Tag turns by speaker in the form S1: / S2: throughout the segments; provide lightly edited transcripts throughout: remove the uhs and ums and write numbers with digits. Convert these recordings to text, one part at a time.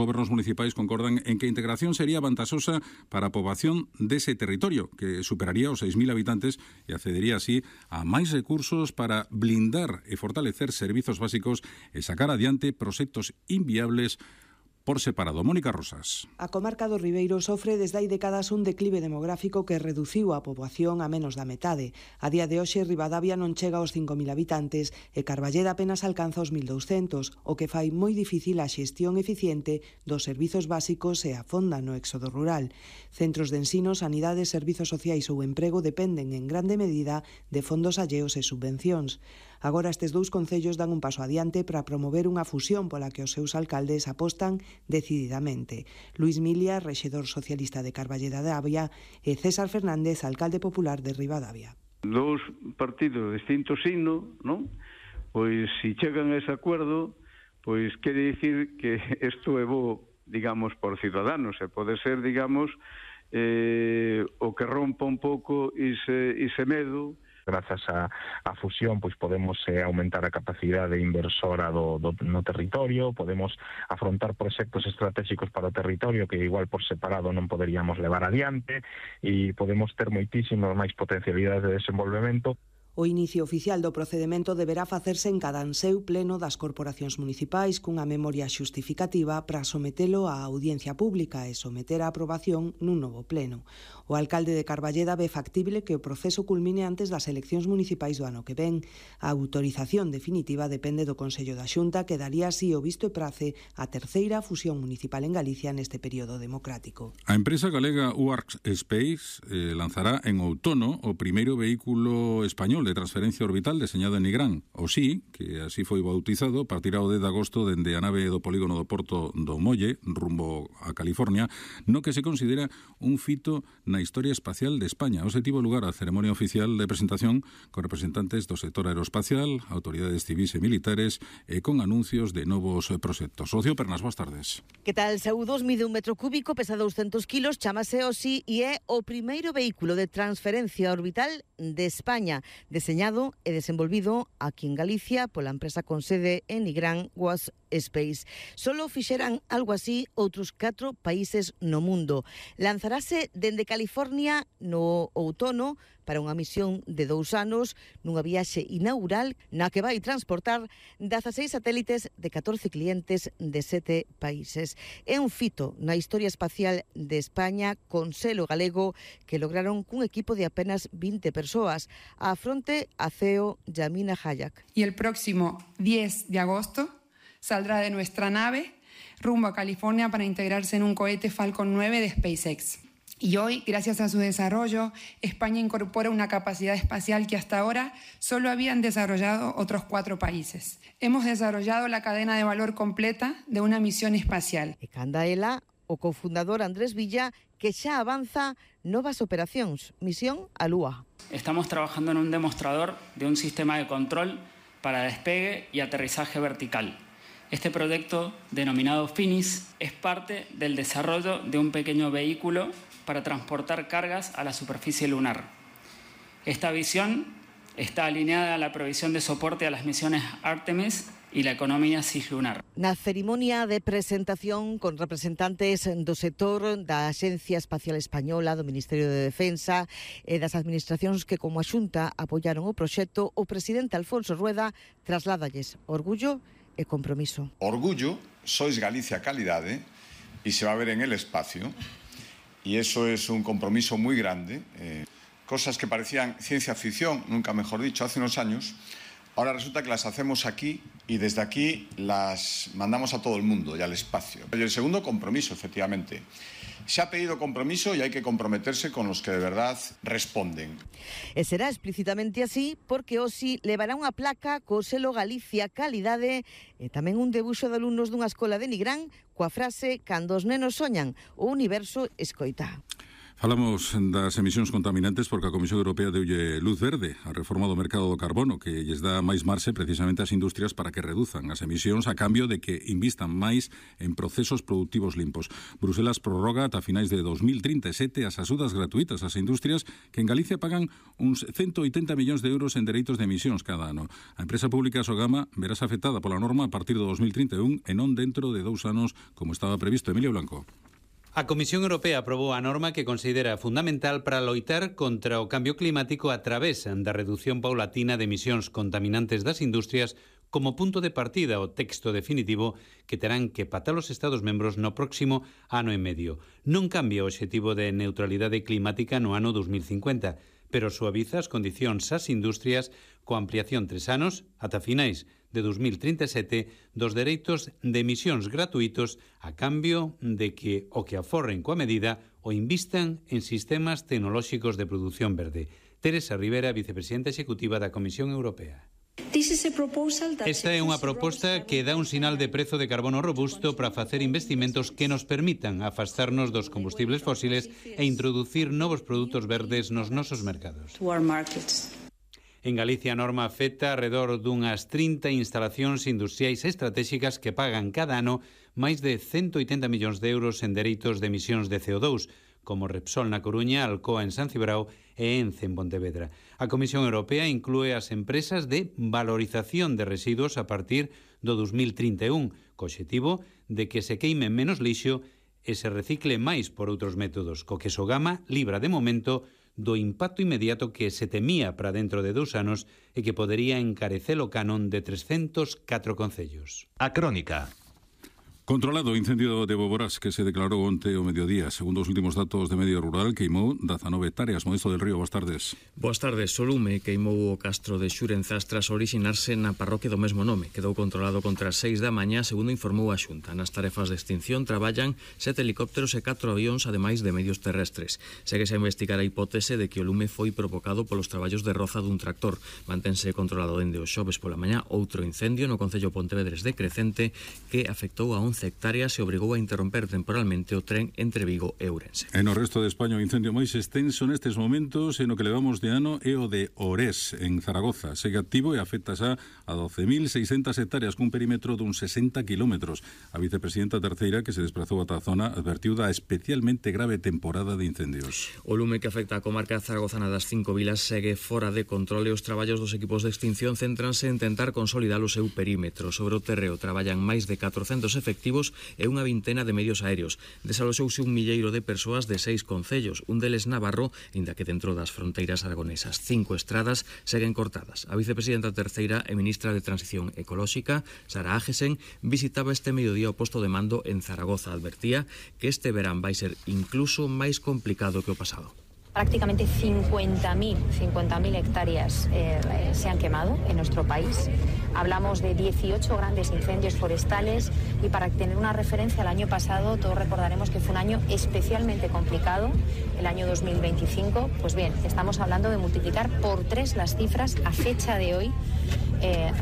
S1: gobernos municipais concordan en que a integración sería vantaxosa para a poboación dese territorio, que superaría os 6.000 habitantes e accedería así a máis recursos para blindar e fortalecer servizos básicos e sacar adiante proxectos inviables por separado. Mónica Rosas.
S2: A comarca do Ribeiro sofre desde hai décadas un declive demográfico que reduciu a poboación a menos da metade. A día de hoxe, Ribadavia non chega aos 5.000 habitantes e Carballeda apenas alcanza os 1.200, o que fai moi difícil a xestión eficiente dos servizos básicos e afonda no éxodo rural. Centros de ensino, sanidade, servizos sociais ou emprego dependen en grande medida de fondos alleos e subvencións. Agora estes dous concellos dan un paso adiante para promover unha fusión pola que os seus alcaldes apostan decididamente. Luís Milia, rexedor socialista de Carballeda de Avia, e César Fernández, alcalde popular de Ribadavia.
S3: Dous partidos de distinto signo, non? Pois se chegan a ese acuerdo, pois quere dicir que isto é bo, digamos, por Ciudadanos, e pode ser, digamos, o que rompa un pouco ese medo.
S4: Grazas á fusión, pois podemos aumentar a capacidade inversora no territorio, podemos afrontar proxectos estratégicos para o territorio que igual por separado non poderíamos levar adiante e podemos ter moitísimas máis potencialidades de desenvolvemento.
S2: O inicio oficial do procedemento deberá facerse en cada anseu pleno das corporacións municipais cunha memoria xustificativa para sometelo á audiencia pública e someter a aprobación nun novo pleno. O alcalde de Carballeda ve factible que o proceso culmine antes das eleccións municipais do ano que ven. A autorización definitiva depende do Consello da Xunta, que daría así o visto e prace a terceira fusión municipal en Galicia neste período democrático.
S1: A empresa galega UARC Space lanzará en outono o primeiro vehículo español de transferencia orbital deseñado en Nigrán. O SI, que así foi bautizado, partirá o 10 de agosto dende a nave do polígono do Porto do Molle, rumbo a California, no que se considera un fito na historia espacial de España. Hoxe tivo lugar a ceremonia oficial de presentación con representantes do sector aeroespacial, autoridades civis e militares e con anuncios de novos proxectos. Rocío Pernas, boas tardes.
S5: Que tal, Saúdos? Mide 1 metro cúbico, pesa 200 kilos, chamase o SI e é o primeiro vehículo de transferencia orbital de España, deseñado e desenvolvido aquí en Galicia pola empresa con sede en Nigrán, UARC Space. Solo fixeran algo así outros 4 países no mundo. Lanzarase dende California no outono para unha misión de 2 anos nunha viaxe inaugural na que vai transportar 16 satélites de 14 clientes de 7 países. É un fito na historia espacial de España con selo galego que lograron cun equipo de apenas 20 persoas. A fronte a CEO Yamina Hayak.
S6: Y el próximo 10 de agosto saldrá de nuestra nave rumbo a California para integrarse en un cohete Falcon 9 de SpaceX. Y hoy, gracias a su desarrollo, España incorpora una capacidad espacial que hasta ahora solo habían desarrollado otros 4 países. Hemos desarrollado la cadena de valor completa de una misión espacial.
S5: E canda ela, o cofundador Andrés Villa, que xa avanza novas operacións, misión a Lúa.
S7: Estamos trabajando en un demostrador de un sistema de control para despegue y aterrizaje vertical. Este proyecto, denominado Finis, es parte del desarrollo de un pequeño vehículo para transportar cargas a la superficie lunar. Esta visión está alineada a la provisión de soporte a las misiones Artemis y la economía cislunar.
S5: Na cerimonia de presentación con representantes do sector da Axencia Espacial Española, do Ministerio de Defensa e das administracións que como a Xunta apoiaron o proxecto, o presidente Alfonso Rueda trasladalles orgullo e compromiso.
S8: Orgullo, sois Galicia calidade y se va a ver en el espacio. Y eso es un compromiso muy grande. Cosas que parecían ciencia ficción, nunca mejor dicho, hace unos años, ahora resulta que las hacemos aquí y desde aquí las mandamos a todo el mundo y al espacio. Y el segundo compromiso, efectivamente. Se ha pedido compromiso y hay que comprometerse con los que de verdad responden.
S5: E será explícitamente así porque hoxe levará unha placa co selo Galicia Calidade e tamén un debuxo de alumnos dunha escola de Nigrán coa frase "Cando os nenos soñan, o universo escoita".
S1: Falamos das emisións contaminantes porque a Comisión Europea deulle luz verde a reforma do mercado do carbono que lles dá máis marxe precisamente ás industrias para que reduzan as emisións a cambio de que invistan máis en procesos productivos limpos. Bruselas prorroga ata finais de 2037 as axudas gratuitas ás industrias que en Galicia pagan uns 180 millóns de euros en dereitos de emisións cada ano. A empresa pública Sogama verás afectada pola norma a partir do 2031 e non dentro de 2 anos como estaba previsto. Emilio Blanco.
S9: A Comisión Europea aprobou a norma que considera fundamental para loitar contra o cambio climático a través da reducción paulatina de emisións contaminantes das industrias como punto de partida o texto definitivo que terán que patar os Estados membros no próximo ano e medio. Non cambia o obxectivo de neutralidade climática no ano 2050, pero suaviza as condicións ás industrias coa ampliación 3 anos, ata finais de 2037, dos dereitos de emisións gratuitos a cambio de que o que aforren coa medida o invistan en sistemas tecnolóxicos de produción verde. Teresa Rivera, vicepresidenta executiva da Comisión Europea. Esta é unha proposta que dá un sinal de prezo de carbono robusto para facer investimentos que nos permitan afastarnos dos combustibles fósiles e introducir novos produtos verdes nos nosos mercados. En Galicia a norma afecta alrededor dunhas 30 instalacións industriais estratégicas que pagan cada ano máis de 180 millóns de euros en dereitos de emisións de CO2, como Repsol na Coruña, Alcoa en San Cibrao e Ence en Pontevedra. A Comisión Europea inclúe as empresas de valorización de residuos a partir do 2031, co obxectivo de que se queime menos lixo e se recicle máis por outros métodos, co que Sogama libra de momento do impacto inmediato que se temía para dentro de 2 anos e que podería encarecer o canon de 304 concellos.
S10: A Crónica.
S1: Controlado o incendio de Boborás que se declarou onte ao mediodía. Segundo os últimos datos de medio rural, queimou 19 hectáreas. Modesto del Río, boas tardes.
S11: Boas tardes. O lume queimou o castro de Xurenzas tras orixinarse na parroquia do mesmo nome. Quedou controlado contra as 6 da mañá, segundo informou a Xunta. Nas tarefas de extinción traballan 7 helicópteros e 4 avións, ademais de medios terrestres. Séguese a investigar a hipótese de que o lume foi provocado polos traballos de roza dun tractor. Mantense controlado dende o xoves pola mañá outro incendio no concello Pontevedres de Crecente que afectou a 11 hectáreas e obrigou a interromper temporalmente o tren entre Vigo e Ourense.
S1: E no resto de España o incendio máis extenso nestes momentos e no que levamos de ano é o de Orés, en Zaragoza. Segue activo e afecta xa a 12.600 hectáreas cun perímetro dun 60 kilómetros. A vicepresidenta terceira que se desplazou ata a zona advertiu da especialmente grave temporada de incendios.
S11: O lume que afecta a comarca zaragozana das 5 vilas segue fora de control e os traballos dos equipos de extinción céntranse en tentar consolidar o seu perímetro. Sobre o terreo traballan máis de 400 efectivos e unha vintena de medios aéreos. Desaloxouse un milleiro de persoas de 6 concellos, un deles Navarro, inda que dentro das fronteiras aragonesas. 5 estradas seguen cortadas. A vicepresidenta terceira e ministra de Transición Ecolóxica, Sara Ágesen, visitaba este mediodía o posto de mando en Zaragoza. Advertía que este verán vai ser incluso máis complicado que o pasado.
S12: Prácticamente 50.000 hectáreas se han quemado en nuestro país. Hablamos de 18 grandes incendios forestales y para tener una referencia, el año pasado todos recordaremos que fue un año especialmente complicado, el año 2025. Pues bien, estamos hablando de multiplicar por 3 las cifras a fecha de hoy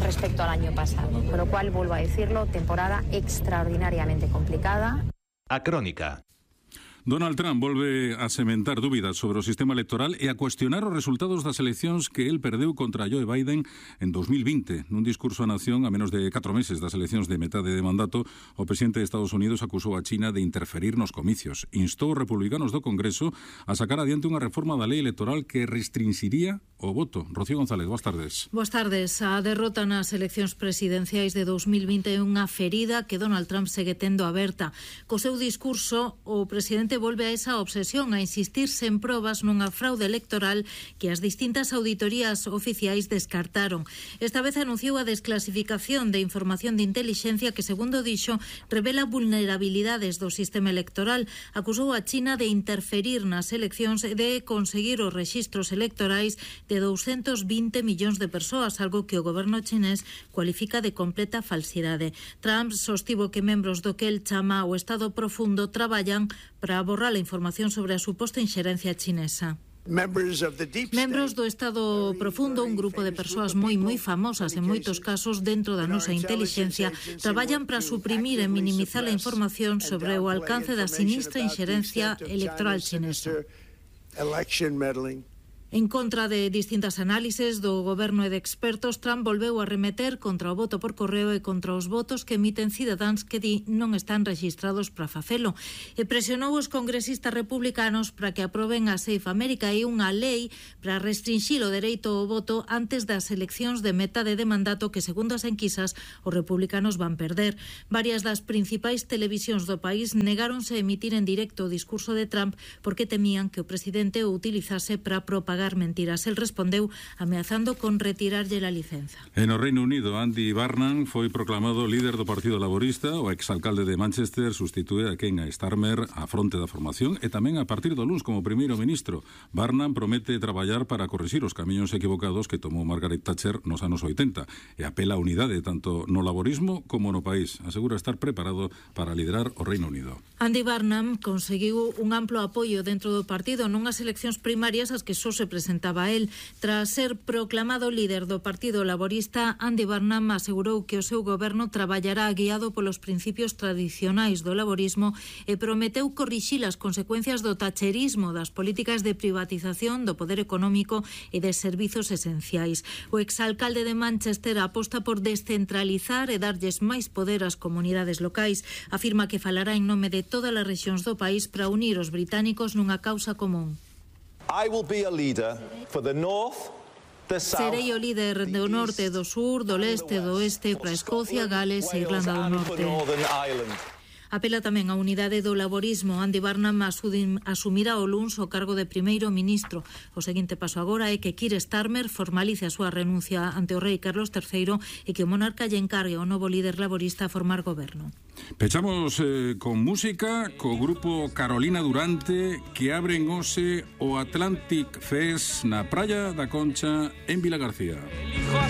S12: respecto al año pasado. Con lo cual, vuelvo a decirlo, temporada extraordinariamente complicada.
S10: A Crónica.
S1: Donald Trump volve a sementar dúbidas sobre o sistema electoral e a cuestionar os resultados das eleccións que el perdeu contra Joe Biden en 2020. Nun discurso á nación a menos de 4 meses das eleccións de metade de mandato, o presidente de Estados Unidos acusou a China de interferir nos comicios. Instou os republicanos do Congreso a sacar adiante unha reforma da lei electoral que restringiría o voto. Rocío González, boas tardes.
S13: Boas tardes. A derrota nas eleccións presidenciais de 2020 é unha ferida que Donald Trump segue tendo aberta. Co seu discurso, o presidente volve a esa obsesión a insistir sen probas nunha fraude electoral que as distintas auditorías oficiais descartaron. Esta vez anunciou a desclasificación de información de intelixencia que, segundo dixo, revela vulnerabilidades do sistema electoral. Acusou a China de interferir nas eleccións e de conseguir os rexistros electorais de 220 millóns de persoas, algo que o goberno chinés cualifica de completa falsidade. Trump sostivo que membros do que el chama o Estado Profundo traballan para borrar a información sobre a suposta inxerencia chinesa. Membros do Estado Profundo, un grupo de persoas moi famosas en moitos casos dentro da nosa intelixencia, traballan para suprimir e minimizar a información sobre o alcance da sinistra inxerencia electoral chinesa.
S14: election meddling.
S13: En contra de distintas análises do goberno e de expertos, Trump volveu a remeter contra o voto por correo e contra os votos que emiten cidadáns que di non están rexistrados para facelo. E presionou os congresistas republicanos para que aproben a Safe America e unha lei para restringir o dereito ao voto antes das eleccións de metade de mandato que, segundo as enquisas, os republicanos van perder. Varias das principais televisións do país negáronse a emitir en directo o discurso de Trump porque temían que o presidente o utilizase para propagar mentiras. El respondeu ameazando con retirarlle a licenza.
S1: En o Reino Unido, Andy Burnham foi proclamado líder do Partido Laborista. O exalcalde de Manchester sustitúe a Keir Starmer á fronte da formación e tamén a partir do luns como primeiro ministro. Burnham promete traballar para corrixir os camiños equivocados que tomou Margaret Thatcher nos anos 80 e apela a unidade tanto no laborismo como no país. Asegura estar preparado para liderar o Reino Unido.
S13: Andy Burnham conseguiu un amplo apoio dentro do partido nunhas eleccións primarias as que só se presentaba el. Tras ser proclamado líder do Partido Laborista, Andy Burnham asegurou que o seu goberno traballará guiado polos principios tradicionais do laborismo e prometeu corrixir as consecuencias do thatcherismo, das políticas de privatización, do poder económico e de servizos esenciais. O exalcalde de Manchester aposta por descentralizar e darlles máis poder ás comunidades locais. Afirma que falará en nome de todas as rexións do país para unir os británicos nunha causa común.
S15: I will be a leader for the north, the south.
S13: Serei o líder do norte, do sur, do leste, do oeste para Escocia, Gales e Irlanda do Norte. Apela tamén a unidade do laborismo. Andy Burnham asumirá o luns o cargo de primeiro ministro. O seguinte paso agora é que Keir Starmer formalice a súa renuncia ante o rei Carlos III e que o monarca lle encargue ao novo líder laborista a formar goberno.
S1: Pechamos con música co grupo Carolina Durante que abren hoxe o Atlantic Fest na Praia da Concha en Vilagarcía.